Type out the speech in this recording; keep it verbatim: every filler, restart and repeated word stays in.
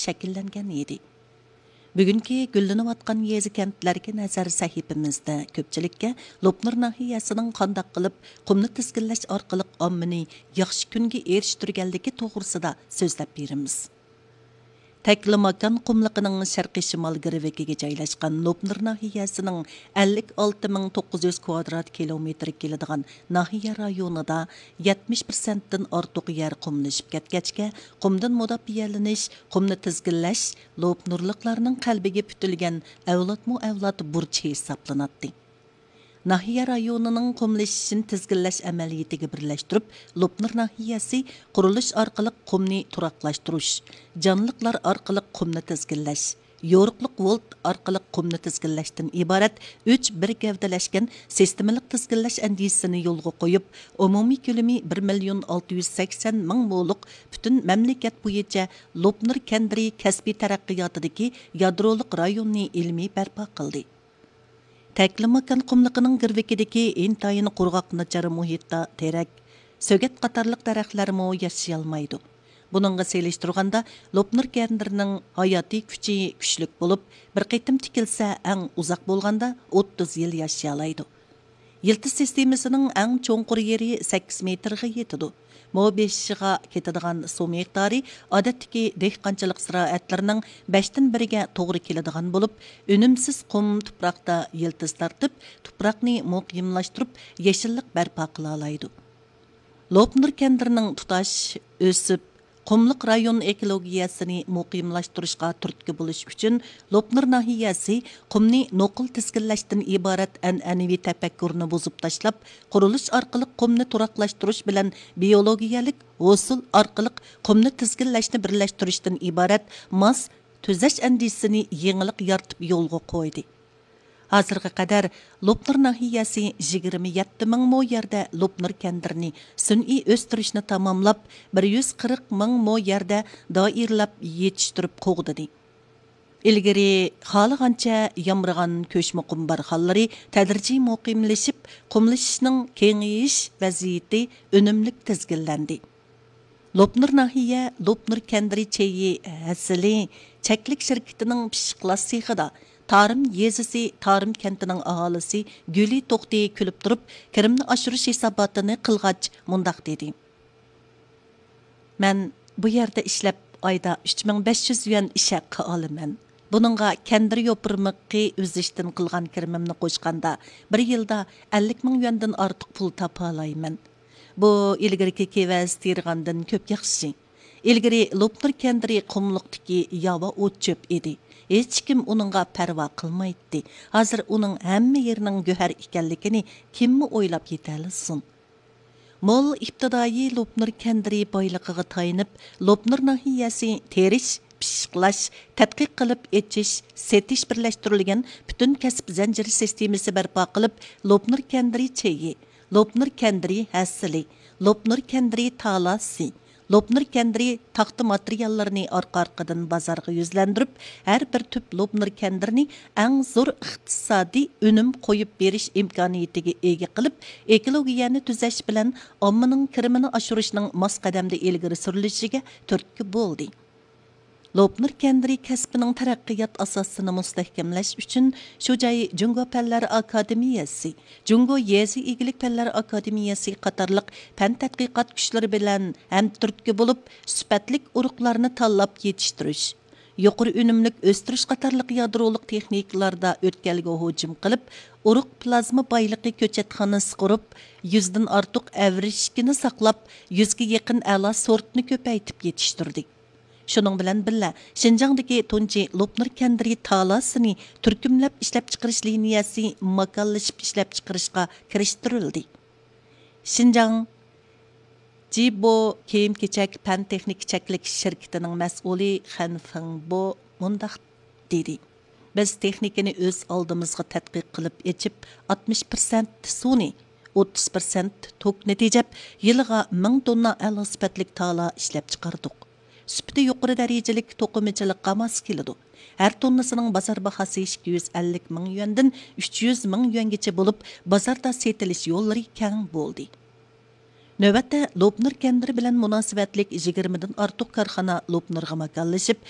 شەكىللەنگەن ئىدى. بۈگۈنكى گۈللىنىۋاتقان يېزا، كەنتلەرگە نەزەر سەھىپىمىزدە كۆپچىلىككە لوپنۇر ناھىيەسىنىڭ قانداق قىلىپ قۇمنى تىزگىنلەش ئارقىلىق ئاممىنى ياخشى كۈنگە ئېرىشتۈرگەنلىكى توغرىسىدا سۆزلەپ بېرىمىز. تەكلىماكان قۇملۇقىنىڭ شەرقىي شىمال گىرۋىكىگە جايلاشقان لوپنۇر ناھىيەسىنىڭ ئەللىك ئالتە مىڭ توققۇز يۈز كۋادرات كىلومېتىرگە كېلىدىغان ناھىيە رايونىدا يەتمىش پىرسەنتتىن ئارتۇق يەر قۇملىشىپ كەتكەچكە، قۇمدىن مۇداپىئەلىنىش، قۇمنى تىزگىنلەش لوپنۇرلۇقلارنىڭ قەلبىگە پۈتۈلگەن ئەۋلادمۇ ئەۋلاد بۇرچى ھېسابلىناتتى. ناھىيە رايونىنىڭ قۇملىشىشىنى تىزگىنلەش ئەمەلىيىتىگە بىرلەشتۈرۈپ، لوپنۇر ناھىيەسى قۇرۇلۇش ئارقىلىق قۇمنى تۇراقلاشتۇرۇش، جانلىقلار ئارقىلىق قۇمنى تىزگىنلەش، يورۇقلۇق ۋولت ئارقىلىق قۇمنى تىزگىنلەشتىن ئىبارەت ئۈچ بىر گەۋدىلەشكەن سىستېمىلىق تىزگىنلەش ئەندىزىسىنى يولغا قويۇپ، ئومۇمىي كۆلىمى بىر مىليون ئالتە يۈز سەكسەن مىڭ مولۇق پۈتۈن مەملىكەت بويىچە لوپنۇر كەندىرى كەسپىي تەرەققىياتىدىكى يادرولۇق رايوننى ئىلمىي بەرپا قىلدى. تەكلىماكان قۇملۇقىنىڭ گىرۋىكىدىكى ئىنتايىن قۇرغاق ناچار مۇھىتتا تېرەك، سۆگەت قاتارلىق دەرەخلەرمۇ ياشىيالمايدۇ. بۇنىڭغا سېلىشتۇرغاندا، لوپنۇر كەندىرىنىڭ ھاياتىي كۈچى كۈچلۈك بولۇپ، بىر قېتىم تىكىلسە، ئەڭ ئۇزاق بولغاندا ئوتتۇز يىل ياشىيالايدۇ. يىلتىز سىستېمىسىنىڭ ئەڭ چوڭقۇر يېرى سەككىز مېتىرغا يېتىدۇ. مو بېشىغا كېتىدىغان سۇ مىقدارى ئادەتتىكى دېھقانچىلىق زىرائەتلىرىنىڭ بەشتىن بىرىگە توغرا كېلىدىغان بولۇپ، ئۈنۈمسىز قۇم تۇپراقتا يىلتىز تارتىپ، تۇپراقنى مۇقىملاشتۇرۇپ، يېشىللىق بەرپا قىلالايدۇ. لوپنۇر كەندىرىنىڭ تۇتاش، ئۆسۈپ، قۇملۇق رايون ئېكولوگىيەسىنى مۇقىملاشتۇرۇشقا تۈرتكە بولۇش ئۈچۈن، لوپنۇر ناھىيەسى قۇمنى نوقۇل تىزگىنلەشتىن ئىبارەت ئەنئەنىۋى تەپەككۇرنى بۇزۇپ تاشلاپ، قۇرۇلۇش ئارقىلىق قۇمنى تۇراقلاشتۇرۇش بىلەن بىيولوگىيەلىك ھوسۇل ئارقىلىق قۇمنى تىزگىنلەشنى بىرلەشتۈرۈشتىن ئىبارەت ماس تۈزەش ئەندىزىسىنى يېڭىلىق يارىتىپ يولغا قويدى. ھازىرغا قەدەر لوپنۇر ناھىيەسى يىگىرمە يەتتە مىڭ مو يەردە لوپنۇر كەندىرىنى سۈنئىي ئۆستۈرۈشنى تاماملاپ، بىر يۈز قىرىق مىڭ مو يەردە دائىرىلەپ يېتىشتۈرۈپ قوغدىدى. ئىلگىرى خالىغانچە يامرىغان كۆچمە قۇم بارخانلىرى تەدرىجىي مۇقىملىشىپ، قۇملىشىشنىڭ كېڭىيىش ۋەزىيىتى ئۈنۈملۈك تىزگىنلەندى. لوپنۇر ناھىيە لوپنۇر كەندىرى چېيى ھەسىلى چەكلىك شىركىتىنىڭ پىششىقلاش سېخىدا تارىم يېزىسى تارىم كەنتىنىڭ ئاھالىسى گۈلى توختى كۈلۈپ تۇرۇپ، كىرىمنى ئاشۇرۇش ھېساباتىنى قىلغاچ مۇنداق دېدى: مەن بۇ يەردە ئىشلەپ، ئايدا ئۈچ مىڭ بەش يۈز يۈەن ئىش ھەققى ئالىمەن. بۇنىڭغا كەندىر يوپۇرمىقى ئۈزۈشتىن قىلغان كىرىمىمنى قوشقاندا، بىر يىلدا ئەللىك مىڭ يۈەندىن ئارتۇق پۇل تاپالايمەن. بۇ ئىلگىرىكى كېۋەز تېرىغاندىن كۆپ ياخشى. ئىلگىرى لوپنۇر كەندىرى قۇملۇقتىكى ياۋا ئوت-چۆپ ئىدى. ھېچكىم ئۇنىڭغا پەرۋا قىلمايتتى. ھازىر ئۇنىڭ ھەممە يېرىنىڭ گۆھەر ئىكەنلىكىنى كىممۇ ئويلاپ يېتەلىسۇن؟ مول ئىپتىدائىي لوپنۇر كەندىرى بايلىقىغا تايىنىپ، لوپنۇر ناھىيەسى تېرىش، پىششىقلاش، تەتقىق قىلىپ ئېچىش، سېتىش بىرلەشتۈرۈلگەن پۈتۈن كەسىپ زەنجىرى سىستېمىسى بەرپا قىلىپ، لوپنۇر كەندىرى چېيى، لوپنۇر كەندىرى ھەسىلى، لوپنۇر كەندىرى تالاسى، لوپنۇر كەندىرى تاختا ماتېرىياللىرىنى ئارقا-ئارقىدىن بازارغا يۈزلەندۈرۈپ، ھەر بىر تۈپ لوپنۇر كەندىرىنى ئەڭ زور ئىقتىسادىي ئۈنۈم قويۇپ بېرىش ئىمكانىيىتىگە ئىگە قىلىپ، ئېكولوگىيەنى تۈزەش بىلەن ئاممىنىڭ كىرىمىنى ئاشۇرۇشنىڭ ماس قەدەمدە ئىلگىرى سۈرۈلۈشىگە تۈرتكە بولدى. لوپنۇر كەندىرى كەسپىنىڭ تەرەققىيات ئاساسىنى مۇستەھكەملەش ئۈچۈن، شۇ جاي جۇڭگو پەنلەر ئاكادېمىيەسى، جۇڭگو يېزا ئىگىلىك پەنلەر ئاكادېمىيەسى قاتارلىق پەن تەتقىقات كۈچلىرى بىلەن ھەمتۈرتكە بولۇپ، سۈپەتلىك ئۇرۇقلارنى تاللاپ يېتىشتۈرۈش، يۇقىرى ئۈنۈملۈك ئۆستۈرۈش قاتارلىق يادرولۇق تېخنىكىلاردا ئۆتكەلگە ھۇجۇم قىلىپ، ئۇرۇق پلازما بايلىقى كۆچەتخانىسى قۇرۇپ، يۈزدىن ئارتۇق ئەۋرىشكىنى ساقلاپ، يۈزگە يېقىن ئەلا سورتنى كۆپەيتىپ يېتىشتۈردى. شۇنىڭ بىلەن بىللە، شىنجاڭدىكى تۇنجى لوپنۇر كەندىرى تالاسىنى تۈركۈملەپ ئىشلەپچىقىرىش لىنىيەسى ماكانلىشىپ ئىشلەپچىقىرىشقا كىرىشتۈرۈلدى. شىنجاڭ جىبو كىيىم-كېچەك پەن-تېخنىكا چەكلىك شىركىتىنىڭ مەسئۇلى خەن فېڭبو مۇنداق دېدى: بىز تېخنىكىنى ئۆز ئالدىمىزغا تەتقىق قىلىپ ئېچىپ، ئاتمىش پىرسەنت سۇنى، ئوتتۇز پىرسەنت توكنى تېجەپ، يىلىغا مىڭ توننا ئەلا سۈپەتلىك تالا ئىشلەپچىقاردۇق. سۈپىتى يۇقىرى دەرىجىلىك توقۇمىچىلىققا ماس كېلىدۇ. ھەر توننىسىنىڭ بازار باھاسى ئىككى يۈز ئەللىك مىڭ يۈەندىن ئۈچ يۈز مىڭ يۈەنگىچە بولۇپ، بازاردا سېتىلىش يوللىرى كەڭ بولدى. نۆۋەتتە، لوپنۇر كەندىرى بىلەن مۇناسىۋەتلىك يىگىرمىدىن ئارتۇق كارخانا لوپنۇرغا ماكانلىشىپ،